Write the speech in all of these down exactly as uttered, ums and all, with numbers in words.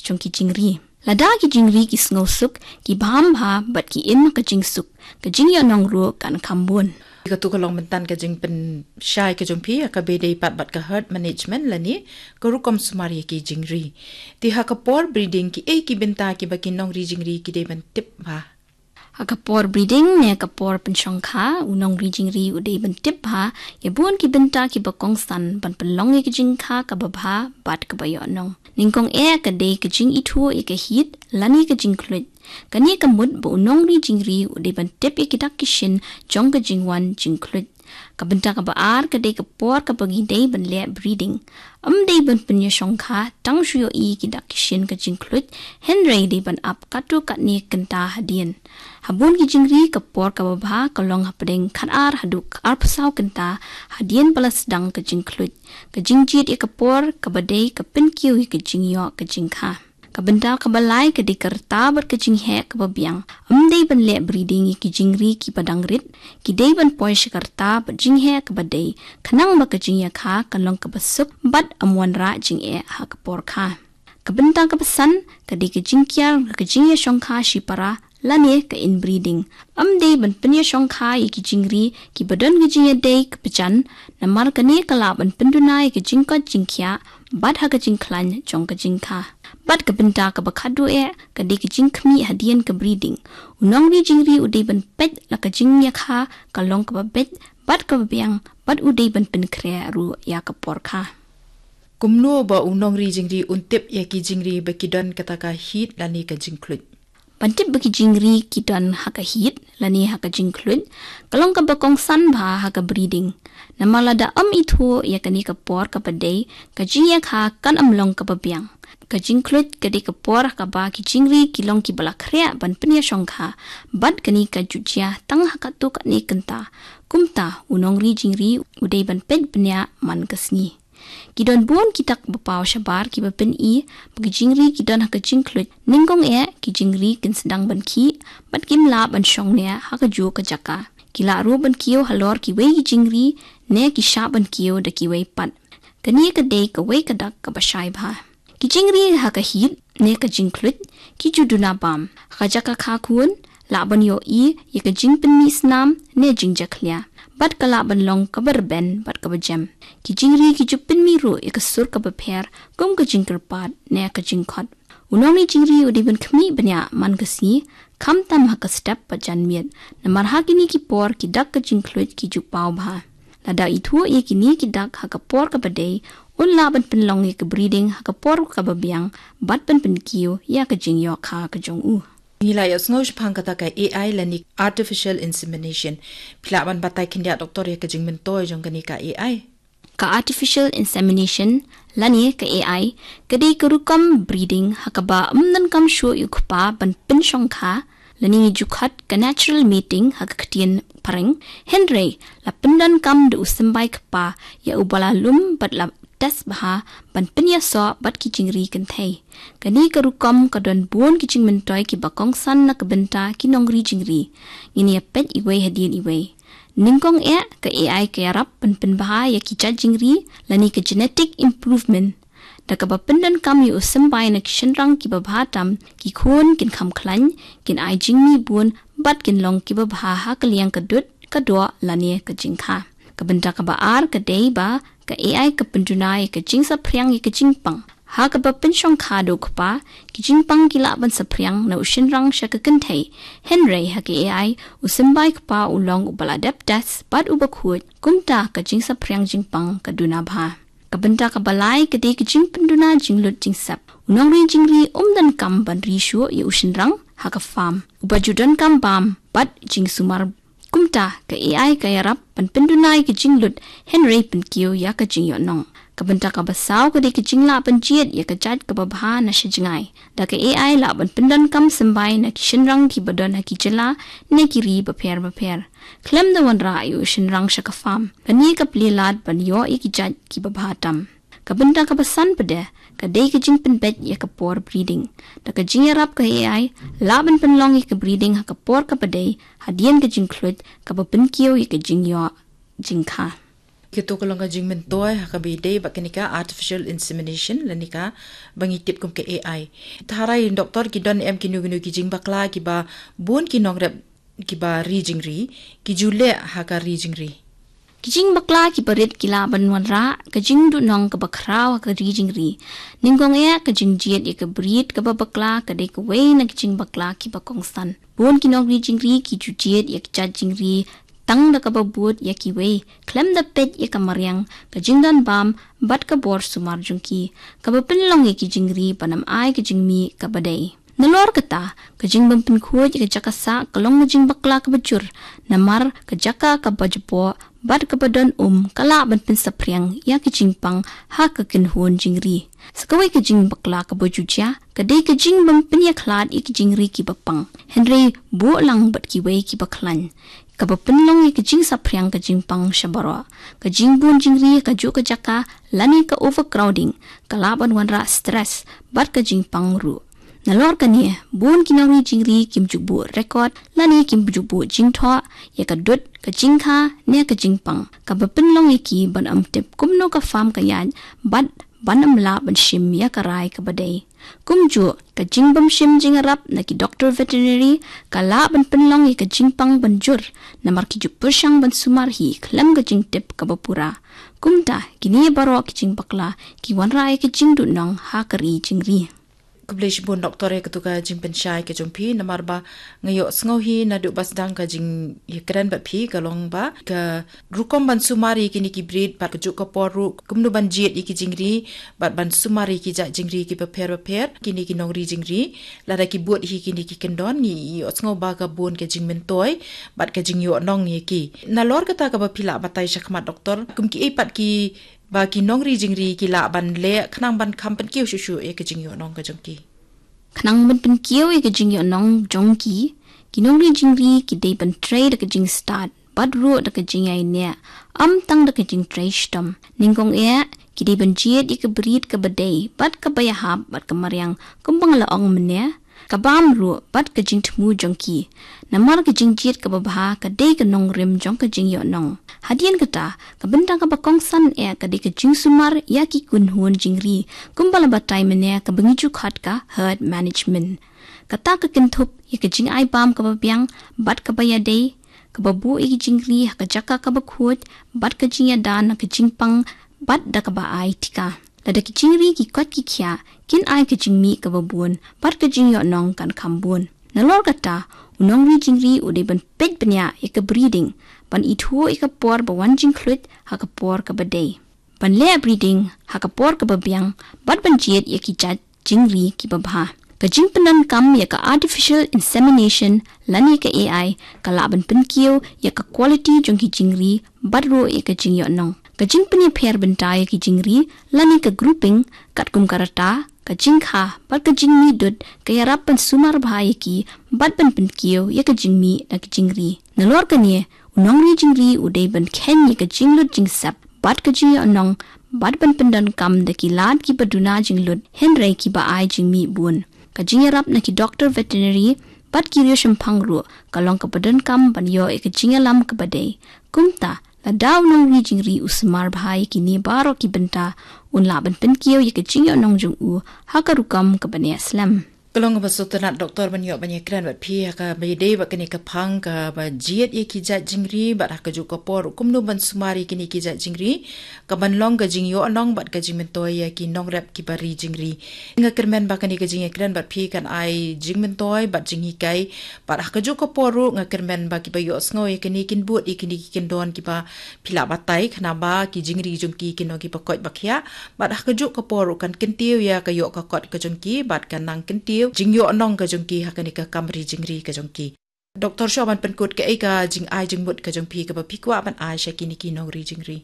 jong ki jingri. Lada ki jingri ki sngewsuk, ki bam bha bad ki im ka jingsuk, ka jingïohnong ruh kan kham bun. Katu ka long mynta ka jingpynshai ka jong phi ha kaba ïadei pat bad ka herd management lane ka rukom sumar ïa ki jingri. Te ha ka por breeding, kiei ki bynta kiba ki nongri jingri ki dei ban tip bha? Ha ka por breeding ne ka por pynshongkha, u nongri jingri u dei ban tip bha ïa bun ki bynta kiba kongsan ban pynlong ïa ka jingkha kaba bha bad kaba ïohnong. Nyngkong eh ka dei ka jingithuh ïa ka heat lane ka jingkhluit. Kane ka mut ba u nongri jingri u dei ban tip ïa ki dak ki shin jong ka jingwan jingkhluit. Ka bynta kaba ar ka dei ka por kaba ngi dei ban leh breeding. Ym dei ban pynïashongkha tang shu ïohi ki dak ki shin ka jingkhluit, hynrei dei ban ap katto katne kynta hadien. Ha bun ki jingri ka por kaba bha ka long hapdeng khatar haduh arphew saw kynta hadien ba la sdang ka jingkhluit. Ka jingjied ïa ka por kaba dei ka pynkiew ïa ka jingïoh ka jingkha. Ka bynta kaba lai ka dei ka rta bad ka jingheh kaba biang. Ym dei ban leh breeding ïa ki jingri kiba dang rit. Ki dei ban poi sha ka rta bad jingheh kaba dei, khnang ba ka jingïakha kan long kaba suk bad ym wanrah jingeh ha ka por kha. Ka bynta kaba san ka dei ka jingkiar ka jingïashongkha shipara lane ka inbreeding. Ym dei ban pynïashongkha ïa ki jingri kiba don ka jingïadei ka pyrshah, namar kane ka lah ban pynduna ïa ka jingkoit jingkhiah bad ha ka jingkhlaiñ jong ka jingkha. Bad ka bynta kaba khatduh eh ka dei ka jingkhmih hadien ka breeding. U nongri jingri u dei ban peit la ka jingïakha ka long kaba beit bad kaba biang, bad u dei ban pynkhreh ruh ïa ka por kha. Kumno ba u nongri jingri un tip ïa ki jingri ba ki don kata ka heat lane ka jingkhluit? Ban tip ba ki jingri ki don ha ka heat lane ha ka jingkhluit ka long kaba kongsan bha ha ka breeding. Namar lada ym ithuh ïa kane ka por kaba dei, ka jingïakha kan ym long kaba biang. Ka jingkhluit ka dei ka por ha kaba ki jingri ki long kiba la khreh ban pynïashongkha, bad kane ka ju jia tang ha katto katne kynta. Kumta u nongri jingri u dei ban peit bniah man ka sngi. Ki don bun ki dak ba paw shabar kiba pyni ba ki jingri ki don ha ka jingkhluit. Nyngkong eh ki jingri kin sdang ban khih bad kim lah ban shong ne ha kajuh ka jaka. Ki lah ruh ban kiew halor kiwei ki jingri ne ki shah ban kiew da kiwei pat. Kane ka dei kawei ka dak kaba shai bha. Ki jingri ha ka heat ne ka jingkhluit ki ju duna bam. Ha ka jaka kha khun lah ban ïohi ïa ka jingpynmih snam ne jingjakhlia, bad ka lah ban long kaba rben bad kaba jem. Ki jingri ki ju pynmih ruh ïa ka sur kaba pher, kum ka jingkyrpad ne ka jingkhot. U nongri jingri u dei ban khmih bniah man ka sngi, khamtam ha ka step bad janmiet. Namar ha kine ki por ki dak ka jingkhluit ki ju paw bha. Lada ithuh ïa kine ki dak ha ka por kaba dei, un lah ban pynlong ïa ka breeding ha ka por kaba biang bad ban pynkiew ïa ka jingïoh kha ka jong u. Ngi la ïohsngew shaphang kata ka A I lane artificial insemination. Phi lah ban batai khyndiat, Doktor, ïa ka jingmyntoi jong kane ka A I? Ka artificial insemination lane ka A I ka dei ka rukom breeding ha kaba ym donkam shuh ïa u kpa ban pynshongkha, lane ngi ju khot ka natural mating ha ka ktien phareng. Hynrei la pyndonkam da u symbai kpa ïa uba la lum bad la test bha ban pynïasoh bad ki jingri kynthei. Kane ka rukom ka don bun ki jingmyntoi kiba kongsan na ka bynta ki nongri jingri. Ngin ïa peit iwei hadien iwei. Nyngkong eh ka A I ka ïarap ban pynbha ïa ki jait jingri lane ka genetic improvement. Da kaba pyndonkam ïa u symbai na ki shynrang kiba bha tam, ki khun kin kham khlaiñ, kin ai jingmih bun bad kin long kiba bha ha ka liang ka dud, ka doh lane ka jingkha. Ka bynta kaba ar ka dei ba ka A I ka pynduna ïa ka jingsaphriang ïa ka jingpang. Ha kaba pynshongkha da u kpa, ki jingpang ki lah ban saphriang na u shynrang sha ka kynthei. Hynrei ha ka A I u symbai kpa u long uba la dep test bad uba khuid, kumta ka jingsaphriang jingpang ka duna bha. Ka bynta kaba lai ka dei ka jingpynduna jinglut jingsep. U nongri jingri um donkam ban ri shuh ïa u shynrang ha ka farm. Uba ju donkam bam bad jingsumar. Kumta ka A I ka ïarap ban pynduna ïa ka jinglut, hynrei pynkiew ïa ka jingïohnong. Ka bynta kaba saw ka dei ka jinglah ban jied ïa ka jait kaba bha na sha jngai. Da ka A I lah ban pyndonkam symbai na ki shynrang kiba don ha ki jylla ne ki ri bapher bapher. Khlem da wanrah ïa u shynrang sha ka farm, kane ka plie lad ban ïoh ïa ki jait kiba bha tam. Ka bynta kaba san pat de ka dei ka jingpynbeit ïa ka por breeding. Da ka jingïarap ka A I lah ban pynlong ïa ka breeding ha ka por kaba dei, hadien ka jingkhluit, kaba pynkiew ïa ka jingïoh jingkha. Kito ka long ka jingmyntoi ha kaba ïadei bad kane ka artificial insemination lane ka ba ngi tip kum ka A I. Tharai doktor, ki don em kino kino ki jingbakla kiba bun ki nongrep kiba ri jingri ki ju leh ha ka ri jingri? Ki jingbakla kiba rit ki lah ban wanrah ka jingduhnong kaba khraw ha ka ri jingri. Nyngkong eh, ka jingjied ïa ka brid kaba bakla ka dei kawei na ki jingbakla kiba kongsan. Bun ki nongri jingri ki ju jied ïa ka jait jingri tang da kaba bud ïa kiwei, khlem da peit ïa ka mariang, ka jingdon bam bad ka bor sumar jong ki, kaba pynlong ïa ki jingri ban ym ai ka jingmih kaba dei. Nalor kata, ka jingbym pynkhuid ïa ka jaka sah ka long ka jingbakla kaba jur, namar ka jaka kaba jpoh bad kaba don um ka lah ban pynsaphriang ïa ka jingpang ha ka kynhun jingri. Sa kawei ka jingbakla kaba ju jia ka dei ka jingbym pynïakhlad ïa ka jingri kiba pang, hynrei buh lang bad kiwei kiba khlaiñ, kaba pynlong ïa ka jingsaphriang ka jingpang sha baroh. Ka jingbun jingri ha kajuh ka jaka lane ka overcrowding ka lah ban wanrah stress bad ka jingpang ruh. Nalor kane, bun ki nongri jingri kim ju buh record lane kim ju buh jingthoh ïa ka dud, ka jingkha ne ka jingpang, kaba pynlong ïa ki ban ym tip kumno ka pham ka ïaid bad ban ym lah ban shim ïa ka rai kaba dei. Kumjuh, ka jingbym shim jingïarap na ki doktor veterinary ka lah ban pynlong ïa ka jingpang ban jur, namar ki ju pyrshang ban sumar hi khlem ka jingtip kaba pura. Kumta, kine baroh ki jingbakla ki wanrah ïa ka jingduhnong ha ka ri jingri. Khublei shibun doktor ïa katu ka jingpynshai ka jong phi, namar ba nga ïohsngew hi naduh ba sdang ka jingïakren bad phi ka long ba ka rukom ban sumar ïa kine ki brid bad kajuh ka por ruh kumno ban jied ïa ki jingri bad ban sumar ïa ki jait jingri kiba pher bapher, kine ki nongri jingri, lada ki bud hi kine ki kyndon, ngi ïohsngew ba ka bun ka jingmyntoi bad ka jingïohnong ïa ki. Nalor kata, kaba phi lah batai shakhmat doktor, kum kiei pat ki ba ki nongri jingri ki lah ban leh khnang ban kham pynkiew shuh shuh ïa ka jingïohnong ka jong ki? Khnang ban pynkiew ïa ka jingïohnong jong ki, ki nongri jingri ki dei ban trei da ka jingstad bad ruh da ka jingïaineh, ym tang da ka jingtrei shitom. Nyngkong eh, ki dei ban jied ïa ka brid kaba dei bad kaba ïahap bad ka mariang, kumba nga la ong mynne, ka bam ruh bad ka jingthmu jong ki. Namar ka jingjied kaba bha ka dei ka nongrim jong ka jingïohnong. Hadien kata, ka bynta kaba kongsan eh ka dei ka jingsumar ïa ki kynhun jingri, kumba la batai mynne kaba ngi ju khot ka herd management. Kata ka kynthup ïa ka jingai bam kaba biang bad kaba ïadei, kaba buh ïa ki jingri ha ka jaka kaba khuid, bad ka jingïada na ka jingpang bad da kaba ai tika. Lada ki jingri ki koit ki khiah, kin ai ka jingmih kaba bun bad ka jingïohnong kan kham bun. Nalor kata, u nongri jingri u dei ban peit bniah ïa ka breeding, ban ithuh ïa ka por ba wan jingkhluit ha ka por kaba dei, ban leh breeding ha ka por kaba biang, bad ban jied ïa ki jait jingri kiba bha. Ka jingpyndonkam ïa ka artificial insemination lane ka A I ka lah ban pynkiew ïa ka quality jong ki jingri bad ruh ïa ka jingïohnong. Ka jingpynïapher bynta ïa ki jingri lane ka grouping, katkum ka rta, ka jingkha bad ka jingmih dud, ka ïarap ban sumar bha ïa ki bad ban pynkiew ïa ka jingmih na ki jingri. Nalor kane, u nongri jingri u dei ban kheiñ ïa ka jinglut jingsep bad ka jingïohnong, bad ban pyndonkam da ki lad kiba duna jinglut hynrei kiba ai jingmih bun. Ka jingïarap na ki doktor veterinary bad ki riewshemphang ruh ka long kaba donkam ban ïoh ïa ka jingïalam kaba dei. Kumta, lada u nongri jingri u sumar bha ïa kine baroh ki bynta, un lah ban pynkiew ïa ka jingïohnong jong u ha ka rukom kaba neh slem. Ka long kaba sngewtynnat doktor ban ïoh ban ïakren bad phi ha kaba ïadei bad kane ka phang kaba jied ïa ki jait jingri bad ha kajuh ka por kumno ban sumar ïa kine ki jait jingri, kaban long ka jingïohnong bad ka jingmyntoi ïa ki nongrep kiba ri jingri. Nga kyrmen ba kane ka jingïakren bad phi kan ai jingmyntoi bad jinghikai, bad ha kajuh ka por ruh nga kyrmen ba kiba ïohsngew ïa kane kin bud ïa kine ki kyndon kiba phi lah batai, khnang ba ki jingri jong ki kin long kiba koit ba khiah, bad ha kajuh ka por ruh kan kyntiew ïa ka ïoh ka kot ka jong ki bad kan nang kyntiew jingïohnong ka jong ki ha kane ka kam ri jingri ka jong ki. Doktor, shuwa ban pynkut, kaei ka jingai jingmut ka jong phi kaba phi kwah ban ai sha kine ki nongri jingri?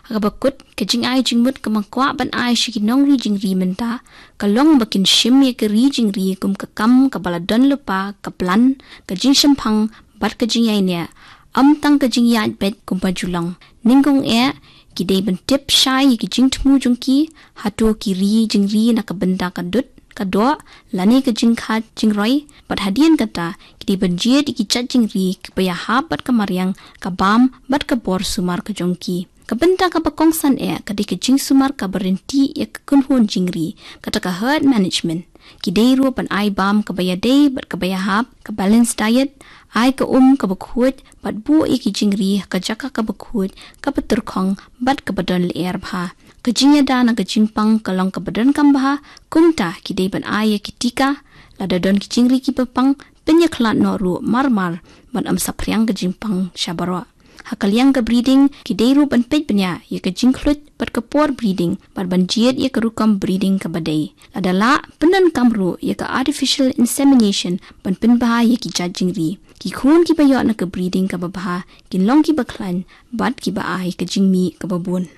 Ha kaba kut, ka jingai jingmut kaba nga kwah ban ai sha ki nongri jingri mynta ka long ba kin shim ïa ka ri jingri kum ka kam kaba la don lypa, ka plan, ka jingshemphang bad ka jingïaineh, ym tang ka jingïaid beit kumba ju long. Nyngkong eh, ki dei ban tip shai ïa ki jingthmu jong ki, hato ki ri jingri na ka bynta ka dud, ka doh, lane ka jingkha jingroi, bad hadien kata, ki dei ban jied ïa ki jait jingri kiba ïahap bad ka mariang, ka bam bad ka bor sumar ka jong ki. Ka bynta kaba kongsan eh ka dei ka jingsumar kaba rynti ïa ka kynhun jingri, kata ka herd management. Ki dei ruh ban ai bam kaba ïadei bad kaba ïahap, ka balanced diet, ai ka um kaba khuid, bad buh ïa ki jingri ha ka jaka kaba khuid, kaba tyrkhong, bad kaba don lyer bha. Ka jingïada na ka jingpang ka long kaba donkam bha, kumta ki dei ban ai ïa ki tika, lada don ki jingri kiba pang, pynïakhlad noh ruh mar mar, bad ym saphriang ka jingpang sha baroh. Ha ka liang ka breeding, ki dei ruh ban peit bniah ïa ka jingkhluit bad ka por breeding, bad ban jied ïa ka rukom breeding kaba dei. Lada lah, pyndonkam ruh ïa ka artificial insemination ban pynbha ïa ki jait jingri. Ki khun kiba ïoh na ka breeding kaba bha, kin long kiba khlaiñ, bad kiba ai ka jingmih kaba bun.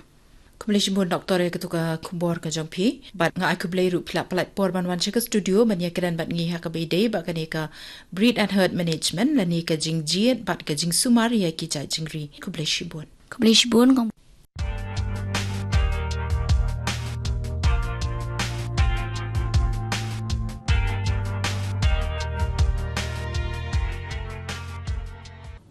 Khublei shibun Doktor ïa katu ka khubor ka jong phi. Bad nga ai khublei ruh phi la pynlut por ban wan sha ka studio ban ïakren bad ngi ha kaba ïadei bad kane ka breed and herd management lane ka jingjied bad ka jingsumar ïa ki jait jingri. Khublei shibun. Khublei shibun kong.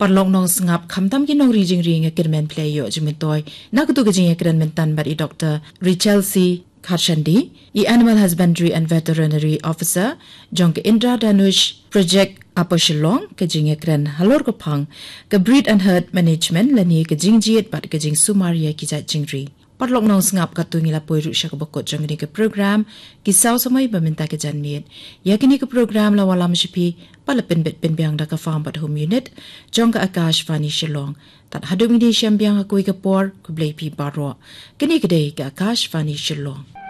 Paralok nongsngap, khamtam ki nongri jingri, nga kyrmen phi la ïoh jingmyntoi na katu ka jingïakren mynta bad i Doktor Rachel C Kharshandi, i Animal Husbandry and Veterinary Officer jong ka Indradhanush Project Upper Shillong, ka jingïakren halor ka phang ka breed and herd management lane ka jingjied bad ka jingsumar ïa ki jait jingri. Paralok nongsngap, katto ngi la poi ruh sha kaba kut jong kane ka program Ki Saw Samoi ba mynta ka janmiet. Ïa kane ka program la wallam sha phi bad la pynbit pynbiang da ka Farm bad Home Unit jong ka Akashvani Shillong. Tad haduh ngin ïashem biang ha kawei ka por, khublei phi baroh. Kane ka dei ka Akashvani Shillong.